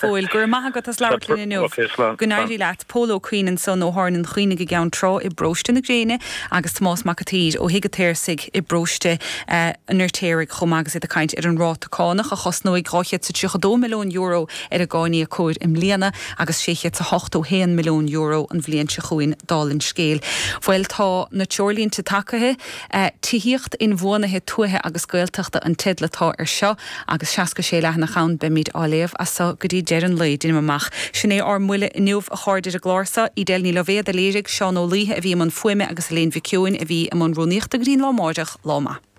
Phóil. Go raibh maith agat as labhairt linn inniu. Ok, slán. Go n-éirí leat. Pól Ó Cuinn ansan ó Thábhairne an Chaonaigh i gCeann Trá i bParóiste na Gréine agus Tomás Mac a' tSaoir ó Thigh a' tSaorsaigh i bParóiste an Fheirtéaraigh chomh maith agus iad ag caint ar an ráta cánach a chosnóidh €232 milliún ar an gcáiníocóir i mbliana agus €681 milliún an bhliain seo chugainn dála an scéil. Bhuel tá na treoirlínte tagaithe. Tithíocht Inbhuanaithe Tuaithe agus Gaeltachta an teideal atá ar seo agus 66 leathanach ann. Beimid á léamh as so go dtí deireadh an lae, deinim amach. Sin é ár mbuille inniu, a chairde, ar an gclár seo. Edel Ní Loibhéad a léirigh, Seán Ó Laoithe a bhí i mbun fuaime agus Elaine Mhic Eoin a bhí i mbun rúnaíochta go dtí an lá amáireach. Lá maith.